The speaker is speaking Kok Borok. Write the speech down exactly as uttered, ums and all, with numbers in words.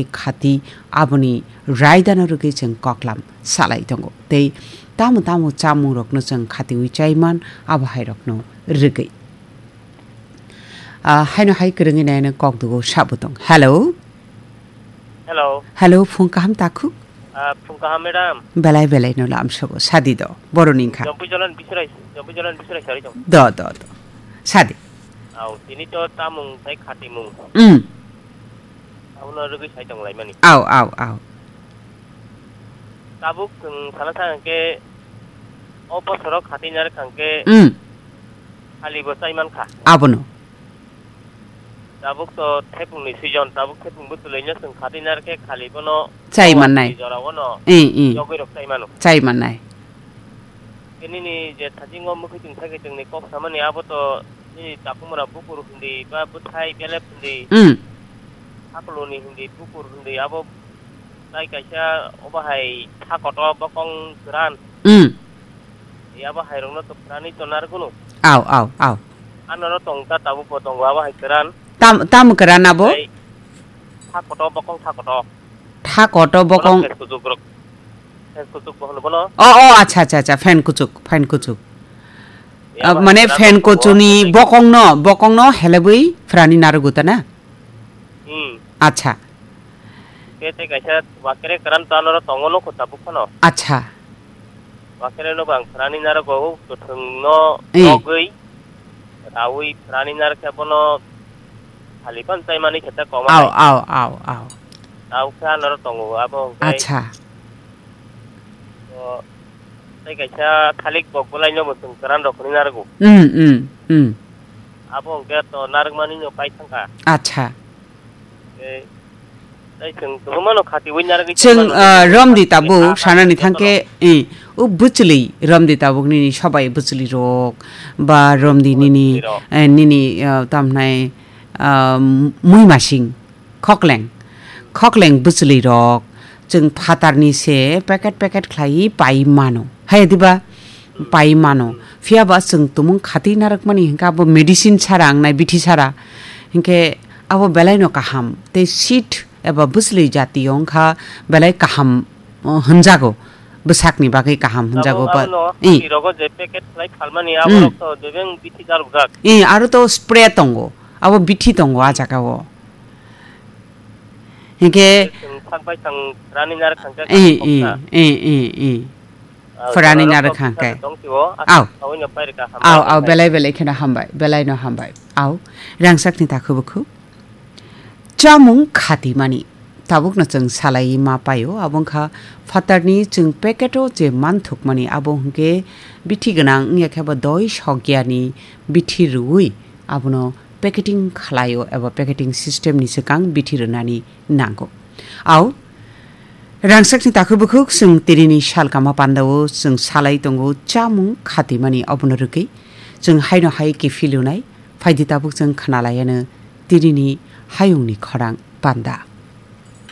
khati aboni raidano rwgwi chwng koklam salai tongo. Tei tamo tamo chamungrokno chwng khatiwi chaiman abo hairokno rwgwi. Ah, haino hai kwrwngwi naino kok dugo sabo tong. Hello? Hello. Hello, phung kaham takhuk? Ah, phung kaham, madam. Belai belai no lamsogo, sadi do. Boroni wngkha. Jompu Jalan Bisurai, Jompu Jalan Bisurai sari tong. Do, do, do. Sadi. Au, tini to tamung tai khatimung. Mm. Abono rwgwi sai tong laimani. Au, au, au. Tabuk chwng sana sa hwnkhe, o bosoro khatinari kha hwnkhe, Mm. Halibo chai mankha. Abono. Tabuk to thepungni season, tabuk thepung bwtwlwino chwng khatinari khe khali bono Chai mannai. Jora bono Eh, eh. Yogwi rok chai mano. Chai mannai. Tei nini je thajingo mwkhwi tong thai khe chwngni kok samani abo to nini takhumura bukur hindi ba bwthai belep hindi, Mm. hakluni hindi bukur hindi abo tai kaisa obo hai tha koto bokong kwran. Mm. Abo hai rokno to phrani to narwkno. Au, au, au. Anoro tong ta tabuk bo tongo abo hai kwran. Tam, tam kwran abo? Tei tha koto bokong tha koto. Tha koto Bono bokong. Fes kuchuk rok. Fes kuchuk bo hono bono. Oh, oh, acha, acha, acha, fan kuchuk, fan kuchuk. Ya, Ah, ba, mane kira fan to kuchuni tongo. Bokongno, bokongno helebwi phrani narwgo ta na? Hmm. Acha. Ke te kaisa wakere karan to anoro tongo no kota bukhano. Acha. Wakere no bang phrani narwgo, o kwthwngno Eh. Nogwi, rawi phrani narwkhe bono Halipan chaimani khe ta koma Au, hai. Au, au, au. Tau khe anoro tongo, abo hwnkhe Acha. O, tei kaisa thalik bok bwlaino bo chwng kwran rok hwnwi narwgo. Mm, mm, mm. Abo hwnkhe to narwkmani no pai thangkha. Acha. Tei, tei chwng kwbangmano khatiwi narwgwi Chwng, tongmano ah, rwgwi romdi khatiwi tabuk, khatiwi sanani jotono. Thangkhe, eh, o bwchwlwi romdi tabuk nini sobai bwchwlwi rok, ba romdi nini, Bwchwlwi rok. Eh, nini, ah, tamhnai, ah, muimasing. Khokleng, khokleng bwchwlwi rok chwng phatarni se packet packet khlaiwi pai mano. Hai diba? Pai mano. Phiya ba chwng tumung khati narwkmani hinkhe abo medicine sara wngnai, bithi sara. Hinkhe abo belaino kaham. Tei seed eba bwchwlwi jati wngkha belai kaham, uh, hwnjago. Bwsakni bagwi kaham hwnjago Abo ba. Abono Eh. Khati rogo je packet khlai phalmani Hmm. Aborok to jebeng bithi jarwkjak. Eh, aro to spray tongo. Abo bithi tongo ah jagao. Hinkhe Chwng sak bai thang rani nar khangkhe Eh, eh, khoksa. Eh, eh, eh. Ah, Pharani joraro narwk kok khangkhe. Tongsiwo, Au. Aswk sawino pairika hambai Au, au, khe. Belai belai kheno hambai, belai no hambai. Au, rangsakni takhuk bukhuk. Chamung khatimani. Tabukno chwng salai ma paio, abo wngkha phatarni chwng packet-o je manthukmani, abo hwnkhe bithi gwnang wngya khe bo doi sokya ni bithi rwui abono packeting khlaio eba packeting system ni swkang bithi rwnani nango. Au, rangsakni takhuk bukhuk chwng tinini salkama pandao chwng salai tongo chamung khatimani obono rwgwi chwng haino hai kiphilunai phaidi tabuk chwng khnalaiano tinini hayungni khorang panda.